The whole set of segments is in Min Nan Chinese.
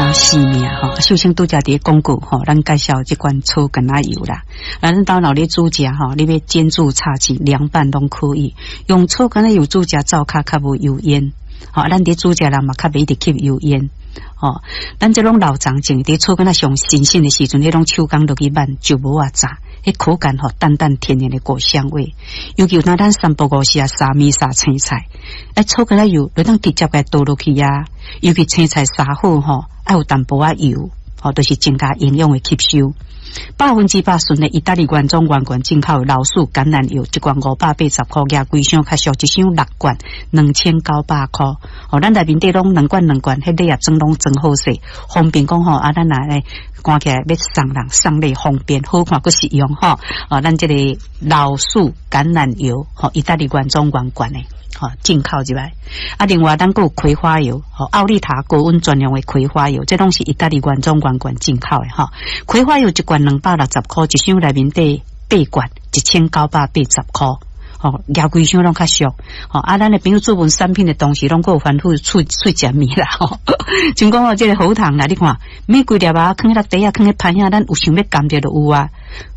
條性命吼。秀清拄才佇廣告吼，咱介紹這款草柑仔油啦。啊，咱兜若咧煮食吼，你欲煎煮炒煎涼拌攏可以。用草柑仔油煮食，灶跤較無油煙。吼，咱佇煮食人嘛較袂一直吸油煙。吼，咱這攏老欉種，佇草柑仔上新鮮的時陣，彼攏手工落去挽就無啊炸，彼口感吼淡淡甜甜的果香味。尤其有當咱三不五時啊，撒麵撒青菜，哎，草柑仔油就當直接共倒落去啊。尤其青菜撒好吼，愛有淡薄仔油，吼，就是增加營養的吸收。100%純的意大利原裝原罐進口老樹橄欖油，一罐580塊，額規箱較俗，一箱六罐2900塊。吼，咱內面底攏兩罐兩罐，彼禮盒裝攏裝好勢，方便講吼啊，咱若來看起來欲送人送禮方便，好看閣實用吼。哦，咱這個老樹橄欖油，吼，意大利原裝原罐的。吼，進口入來。啊，另外咱閣有葵花油，吼，奧利塔高溫專用的葵花油，這攏是意大利原裝原罐進口的吼。葵花油一罐260塊，一箱內面底八罐1980塊。吼，舉規箱攏較俗。吼，啊，咱的朋友注文產品的同時，攏閣有繁複喙喙食物啦。吼，像講哦，這個喉糖啦，你看每規粒啊，囥佇袋仔，囥佇盤仔，咱有想欲含著就有啊。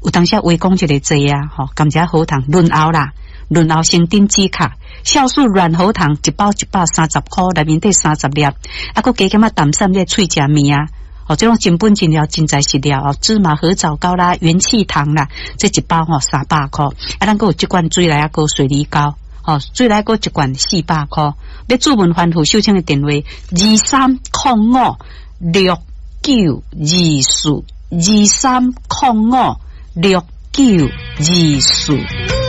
有當時話講一个濟啊，吼，含一下喉糖潤喉啦，潤喉生長止咳。酵素軟喉糖一包130塊，內面底30粒，啊，閣加減仔淡散這喙食物啊，哦，這種真本真料、真材實料哦，芝麻褐藻膏啦、元氣糖啦，這一包吼300塊，啊，咱閣有這罐水來仔膏、水梨膏，吼，水來膏一罐400塊。欲注文番號秀清的電話23056924，23056924。